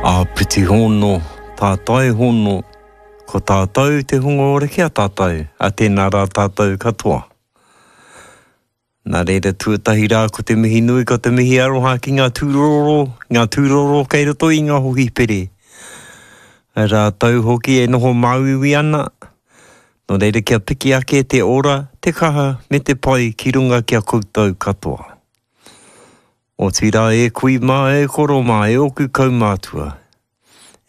Āpiti hono, tātai hono, ko tātou te hunga ora ki a tātou, a tēnā rā tātou katoa. Nā reira tuatahi rā ko te mihi nui, ko te mihi aroha ki ngā tūroro, ngā tūroro kei roto i ngā hohipere. Rātou hoki e noho māuiui ana, nō reira kia piki ake te ora, te kaha me te pai ki runga ki a koutou katoa. Otirā e kui mā, e koro mā, e ōku kaumātua,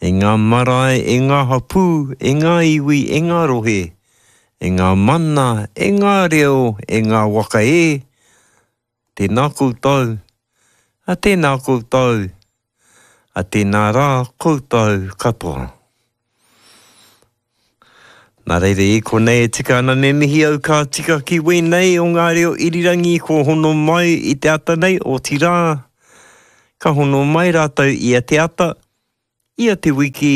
e ngā marae, e ngā hapū, e ngā iwi, e ngā rohe, e ngā mana, e ngā reo, e ngā waka e, tēnā koutou, a tēnā koutou, a tēnā rā koutou katoa. Nā reira i konei e tika ana me mihi au ka tika ki wēnei o ngā reo irirangi kua hono mai i te ata nei, otirā, ka hono mai rātou ia te ata, ia te wiki,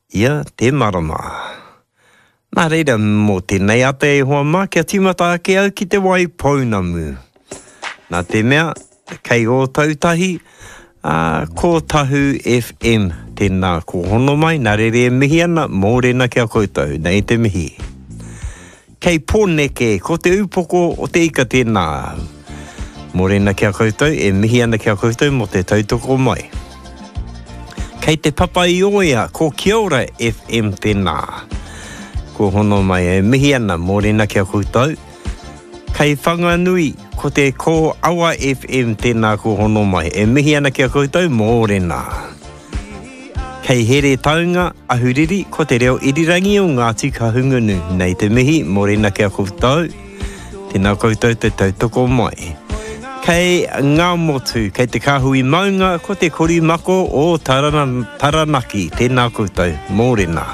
ia te marama. Nā reira, mō tēnei ata e hoa mā, kia tīmata ake au ki te wai pounamu. Nā te mea, Kei Ōtautahi, ā, ko Tahu FM tēnā ko hono mai, nā reira e mihi ana, mōrena ki a koutou, nei te mihi. Kei Pōneke, ko Te Upoko o te Ika tēnā. Mōrena ki a koutou, e mihi ana ki a koutou mō te tautoko mai. Kei Te Papa-i-ōea, ko Kia Ora FM tēnā. Ko hono mai, e mihi ana, mōrena ki a koutou. Kei Whanganui, ko te Ko Awa FM tēnā ko hono mai. E mihi ana ki a koutou, mōrena. Kei Heretaunga, Ahuriri, ko te reo irirangi o Ngāti Kahungunu. Nei te mihi, mōrena ki a koutou. Tēnā koutou te tautoko mai. Kei Ngāmotu, kei te Kāhui Maunga, ko te Korimako o Tarana, Taranaki. Tēnā koutou, mōrena.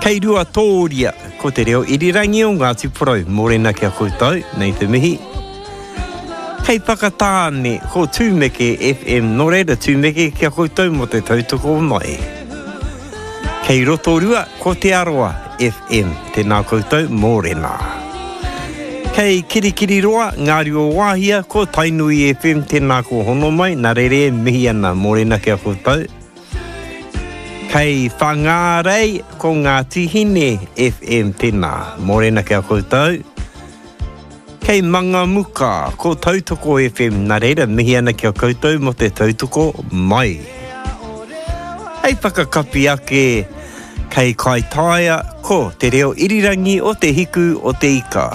Kei Ruatōria, Ko te reo irirangi o Ngāti Porou, mōrena ki a koutou, nei te mihi. Kei Whakatāne, ko Tūmeke FM, nō reira Tūmeke ki a koutou mō te tautoko mai. Kei Rotorua, ko Te Arawa FM, tēnā koutou, mōrena. Kei Kirikiriroa, Ngāruawāhia, ko Tainui FM, tēnā ko hono mai, nā reira e mihi ana, mōrena ki a koutou. Kei Whangārei ko Ngāti Hine FM tēnā. Mōrena ki a koutou. Kei Mangamuka ko Tautoko FM, nā reira mihi ana ki a koutou mō te tautoko mai. Hei whakakapi ake, kei Kaitaia ko te reo irirangi o Te Hiku o Te Ika.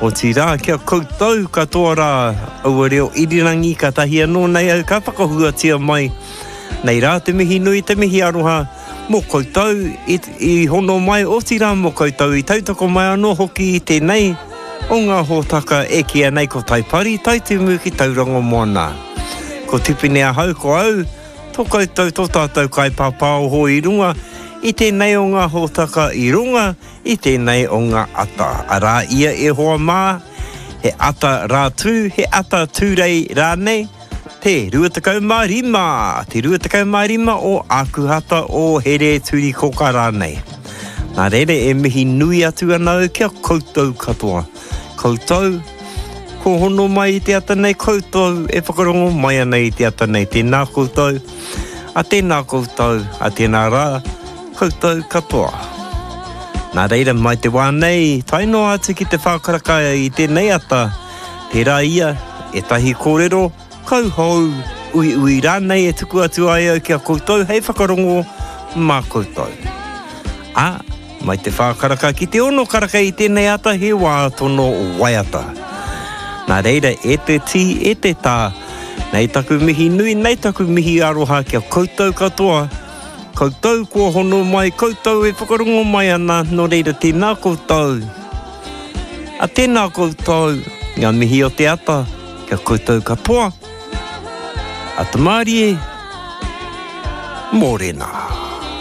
Otirā kia koutou katoa rā aua reo irirangi kātahi anō nei au ka whakahuatia mai Nei rā te mihi nui, te mihi aroha mō koutou i, i hono mai, otirā mō koutou i tautoko mai anō hoki i tēnei o ngā hōtaka e kīia nei ko Taipari, Taitimu ki Tauranga Moana. Ko Tipene ahau, ko au, tō koutou, tō tātou kaipāpāoho i runga i tēnei o ngā hōtaka i runga i tēnei o ngā ata. Arā ia e hoa mā, he ata Rātū, he ata Tūrei rānei, Te 25, te 25 o Ākuhata o Here Turikoka rānei. Nā reira e mihi nui atu ana au ki a koutou katoa. Koutou, ko hono mai i te ata nei, koutou e whakarongo mai ana i te ata nei. Tēnā koutou, a tēnā koutou, a tēnā rā, koutou katoa. Nā reira, mai te wā nei, tae noa atu ki te whākaraka i tēnei ata, Tērā ia, ētahi kōrero, kauhou, uiui rānei e tuku atu ai au ki a koutou hei whakarongo mā koutou. Ā, mai te whā karaka ki te ono karaka i tēnei ata he wā tono waiata. Nā reira, e te tī, e te tā, nei taku mihi nui, nei taku mihi aroha ki a koutou katoa, koutou kua hono mai, koutou e whakarongo mai ana, nō reira tēnā koutou. A tēnā koutou, ngā mihi o te ata, kia koutou katoa. Ata mārie, mōrena.